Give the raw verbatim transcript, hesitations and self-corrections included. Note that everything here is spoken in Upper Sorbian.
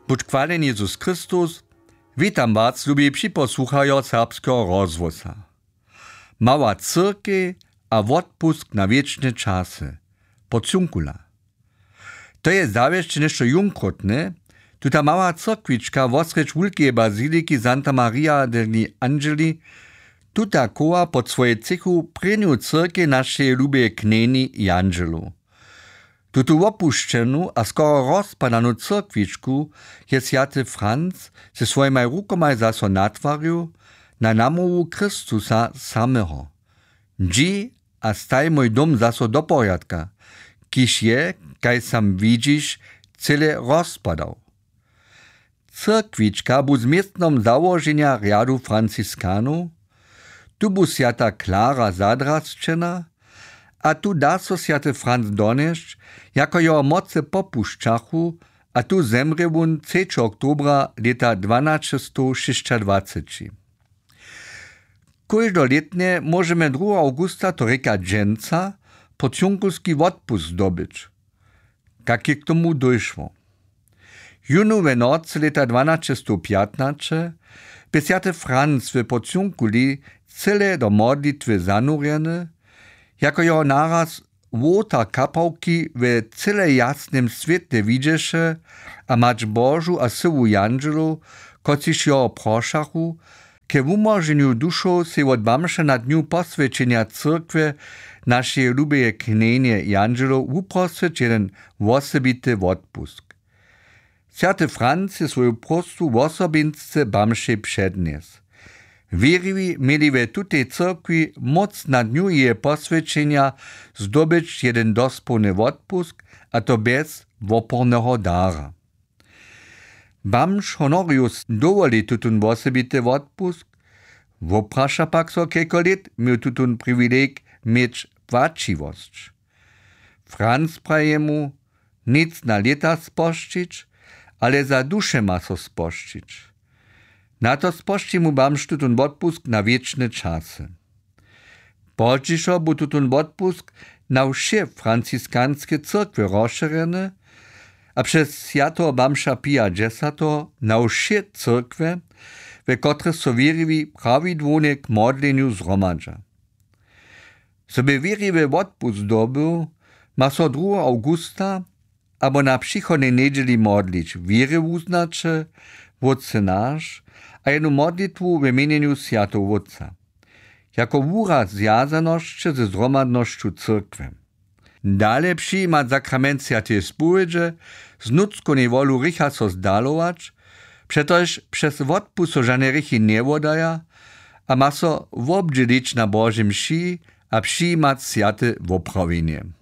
Budź chwaleni Jezus Chrystus. Witam was, lubi připosłuchajo Serbskeho rozhłosa. Mała cyrkej a wotpusk na wěčne časy. Porciuncula. To je zawěsće něšto jónkrótne. Tuta mała cyrkwička wosrjedź wulkeje baziliki Santa Maria degli Angeli, tuta chowa pod swojej třěchu prěnju cyrkej našeje lubeje knjeni Jandźelow. Tutu wopušćenu a skoro rozpadanu cyrkwičku je swjaty Franc ze swojimaj rukomaj zaso natwarił na namołwu Chrystusa sameho: Dźi a staj mój dom zaso do porjadka, kiž je, kaž sam widźiš, cyle rozpadał. Cyrkwička bu z městnom załoženja rjadu Franciskanow. Tu bu swjata Klara zadrasćena a tu da so swjaty Franc donjesć, jako jeho mocy popušćachu, a tu zemrě wón třećeho oktobra lěta dwanaćestow šěsćadwaceći. Kóždolětnje móžemy druheho awgusta, to rěka dźensa, porciunkulski wotpusk zdobyć. Kak je k tomu dóšło? Jónu we nocy lěta dwanaćestowpjatnaće bě swjaty Franc w Porciunkuli cyle do modlitwy zanurjeny, jako jeho naraz wołtar kapałki we cyle jasnym swětle widźeše a Mać Božu a syłu jandźelow, kotřiž jeho prošachu, ke wumóženju dušow sej wot bamža na dnju poswjećenja cyrkwje našeje lubeje knjenje jandźelow wuprosć jeden wosebity wotpusk. Swjaty Franc je swoju próstwu wosobinsce bamžej přednjesł. Wěriwi měli we tutej cyrkwi móc na dnju jeje poswjećenja zdobyć jeden dospołny wotpusk, a to bjez woporneho dara. Bamž Honorius dowoli tutón wosebity wotpusk, wopraša pak so, kelko lět měł tutón priwilej měć płaćiwosć. Franc praji jemu: Nic na lěta spožčić, ale za duše ma so spožčić. Na to spožči mu bamž tutón wotpusk na wěčne časy. Pozdźišo bu tutón wotpusk na wše franciskanske cyrkwje rozšěrjeny a přez swjateho bamža Pija dźesateho na wše cyrkwje, we kotrych so wěriwi prawidłownje k modlenju zhromadźa. Zo by wěriwy wotpusk zdobył, ma so druheho awgusta abo na přichodnej njedźeli modlić: Wěry wuznaće, Wótče naš, a jednu modlitwu we mjenjenju swjateho Wótca, jako wuraz zwjazanosće ze zhromadnosću cyrkwje. Dale přijimać sakrament swjateje spowědźe, z nutřkownej wolu hrěcha so zdalować, přetož přez wotpust so žane hrěchi njewoddaja, a ma so wobdźělić na Božej mši a přijimać swjate woprawjenje.